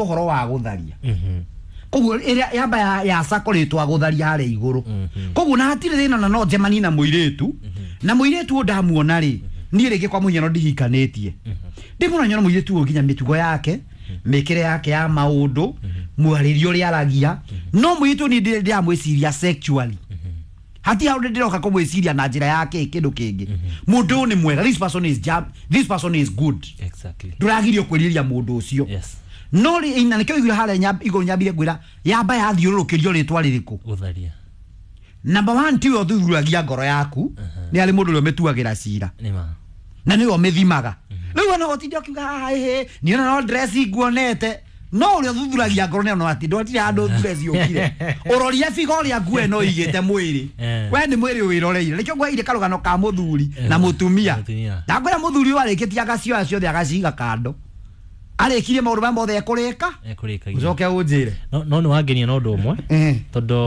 Ũhoro wa gũtharia koguo ĩrĩa yamba ya cakoretwo gũtharia harĩa igũrũ, koguo na hatirĩ thĩna na no njemanie na mũirĩtu na mũirĩtu ũyũ ndamuona rĩ, niĩ rĩngĩ kwa mũhiano ndihikanĩtie, ndĩmuona nyona mũirĩtu ũyũ nginya mĩtugo yake, mĩkĩre yake ya maũndũ, mwarĩrie ũrĩa aragia, no mũirĩtu ũyũ niĩ ndĩramwĩciria sexually, hati hau ndĩroka kũmwĩciria na njĩra ya kĩ kĩndũ kĩngĩ. Mũndũ ũyũ nĩ mwega, this person is jam, this person is good. Ndũragirio kwĩrirĩria mũndũ ũcio. No rĩ, na nĩkĩo igũrũ harĩa igũrũ nyambire ngwĩra yamba yathiũrũrũkĩrio rĩtwa rĩrĩkũ? Gũtharia. Number one, tiwe ũthuthuragia ngoro yaku, nĩ arĩ mũndũ ũrĩa ũmĩtuagĩra cira. Nĩ ma. Na nĩwe ũmĩthimaga. Rĩu ona ũtinde ũkiuga haha ĩhĩ niĩ ona no dress nguonete, no ũrĩa ũthuthuragia ngoro nĩ ona atĩ ndwatirĩ handũ dress yũkire, ũrorire biga ũrĩa nguo ĩno ĩigĩte mwĩrĩ. We nĩ mwĩrĩ wĩroreire, nĩkĩo ngweire karũgano ka mũthuri na mũtumia. Mũtumia. Ndakwĩra mũthuri ũyũ arĩkĩtie agacioya ciothe agaciga kando, arĩkirie maũndũ marĩa mothe ekũrĩka. Ekũrĩkagia. Ũcoke ũnjĩre. No nĩ wangenia na ũndũ ũmwe, tondũ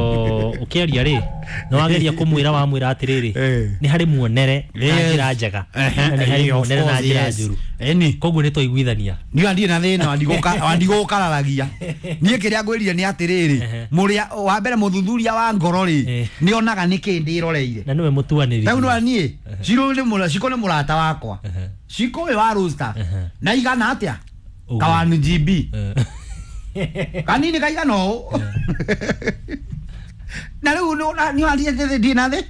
ũkĩaria rĩ, nĩ wageria kũmwĩra, wamwĩra atĩrĩrĩ, nĩ harĩ muonere na njĩra njega na nĩ harĩ muonere na njĩra njũru. Eni. Koguo nĩ twaiguithania. Niĩ ndirĩ na thĩna, wandigũkararagia. Niĩ kĩrĩa ngwĩrire nĩ atĩrĩrĩ, mũrĩa wa mbere, mũthuthuria wa ngoro rĩ, nĩ onaga nĩkĩ ndĩroreire. Na nĩwe mũtuanĩri. Rĩu nĩ niĩ Ciro nĩ mũra Ciko nĩ mũrata wakwa. Ciko ũyũ wa Roasta na igana atĩa? Ũguo. Kawanu GB kanini kaigana ũũ, na rĩu nĩ wathiĩ ndirĩ na thĩ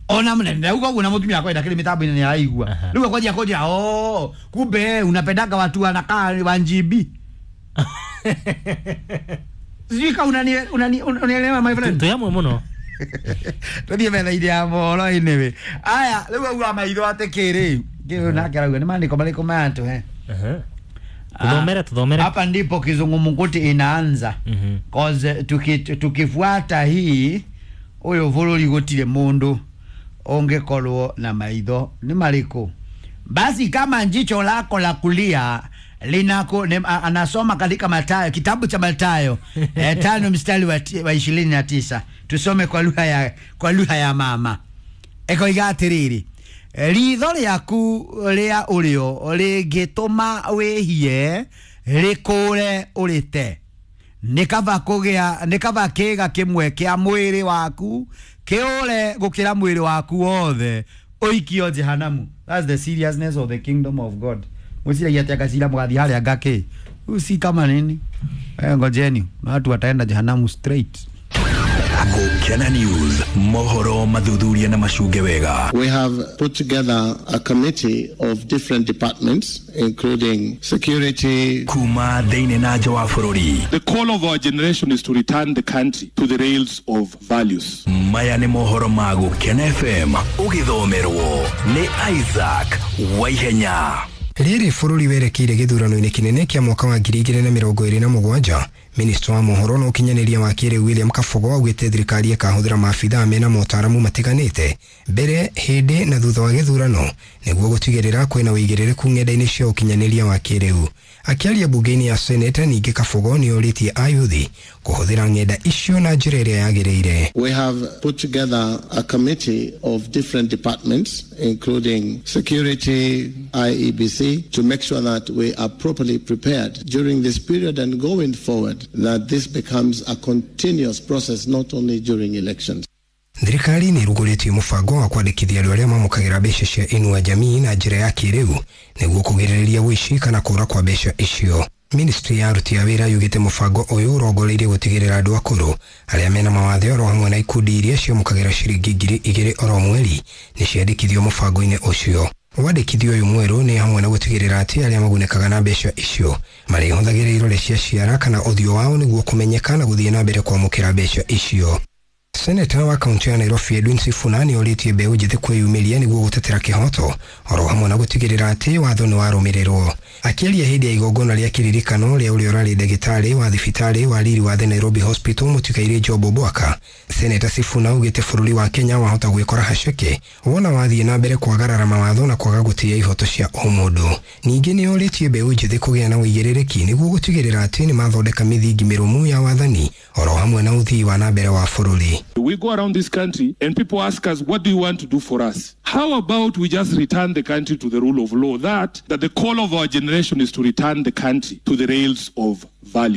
ona mũnene ndauga ũguo, na mũtumia akwa ndakĩrĩ mĩtambo-inĩ nĩ araigua. Rĩu akwanjia kũnjĩra, "Oh, kumbe unapendaga watu wanakaa wa GB." Sijui kama unanielewa, my friend. Twĩ hamwe mũno. Tũthiĩ metha-inĩ ya mohoro. Anyway, aya rĩu auga maitho atĩ kĩrĩ kĩrĩ nake arauga nĩ maandĩko marĩkũ maya tũhe? Tuthomere, tuthomere. Hapa ndipo kizungumkuti inaanza, cause tukifuata hii uyu bũrũri gũtirĩ mũndũ ũngĩkorwo na maitho nĩ marĩkũ. Basi kama jicho lako la kulia linako anasoma katika Mathayo, kitabu cha Mathayo 5 mstari wa 29. Tusome kwa lugha ya mama. Ekoiga atĩrĩrĩ, ritho rĩaku rĩa ũrĩo rĩngĩtũma wĩhie, rĩkũre ũrĩte. Nĩ kaba kũgĩa, nĩ kaba kĩga kĩmwe kĩa mwĩrĩ waku kĩũre gũkĩra mwĩrĩ waku wothe ũikio jehanamu. That's the seriousness of the kingdom of God. Mwĩciragia atĩ angacira mũgathiĩ harĩa ngakĩ usi kama nini? Ngojeni na watu wataenda jehanamu straight. Gukena News, mohoro mathuthuria na macunge wega. We have put together a committee of different departments, including security, kuma thĩinĩ na nja wa bũrũri. The call of our generation is to return the country to the rails of values. Maya nĩ mohoro ma Gukena FM, ũgĩthomerwo nĩ Isaac Waihenya. Rĩrĩ bũrũri werekeire gĩthurano-inĩ kĩnene kĩa mwaka wa 2027, minista wa mohoro na ũkinyanĩria wa kĩrĩu William Kabogo augĩte thirikari ĩkahũthĩra maabithaa mena motaaramu matiganĩte mbere, hĩndĩ na thutha wa gĩthurano nĩguo gũtigĩrĩra kwĩna ũigĩrĩrĩku ng'enda-inĩ cia ũkinyanĩria wa kĩrĩu. Akĩaria bunge-inĩ ya Senate, ningĩ Kabogo nĩ orĩtie ayuthi kũhũthĩra ng'enda icio na njĩra ĩrĩa yagĩrĩire. We have put together a committee of different departments, including security, IEBC, to make sure that we are properly prepared during this period and going forward, that this becomes a continuous process, not only during elections. Thirikari nĩ ĩrugũrĩtie mũbango wa kwandĩkithia andũ arĩa mamũkagĩra mbeca cia Inua Jamii na njĩra ya kĩrĩu nĩguo kũgirĩrĩria ũici kana kũra kwa mbeca icio. Ministry ya aruti a wĩra yugĩte mũbango ũyũ ũrongoreirie gũtigĩrĩra andũ akũrũ arĩa mena mawathe oro hamwe na ikundi iria ciamũkagĩra ciringi 2000 oro mweri nĩ ciandĩkithio mũbango-inĩ ũcio. Wandĩkithio ũyũ mwerũ nĩ hamwe na gũtigĩrĩra atĩ arĩa magunĩkaga na mbeca icio marĩhũthagĩra irore cia ciara kana ũthiũ wao nĩguo kũmenyeka na gũthiĩ na mbere kwamũkĩra mbeca icio. Seneta wa kaunti ya Nairobi Edwin Sifuna nĩ orĩtie mbeũ njĩthĩ kwĩyumĩria nĩguo gũtetera kĩhoto oro hamwe na gũtigĩrĩra atĩ watho nĩ warũmĩrĩrwo. Akĩaria hĩndĩ ya igongona rĩa kĩririkano rĩa ũrĩa ũrarĩ ndagĩtarĩ wa thibitarĩ wa riri wa The Nairobi Hospital mũtigairĩ Job Obwaka, Seneta Sifuna augĩte bũrũri wa Kenya wahota gwĩkora haceke wona wathiĩ na mbere kwagarara mawatho na kwaga gũtĩĩa ihoto cia ũmũndũ. Ningĩ nĩ orĩtie mbeũ njĩthĩ kũgĩa na ũigĩrĩrĩki nĩguo gũtigĩrĩra atĩ nĩ mathondeka mĩthingi mĩrũmu ya wathani oro hamwe na ũthii wa na mbere wa bũrũri. We go around this country and people ask us, what do you want to do for us? How about we just return the country to the rule of law? That the call of our generation is to return the country to the rails of value.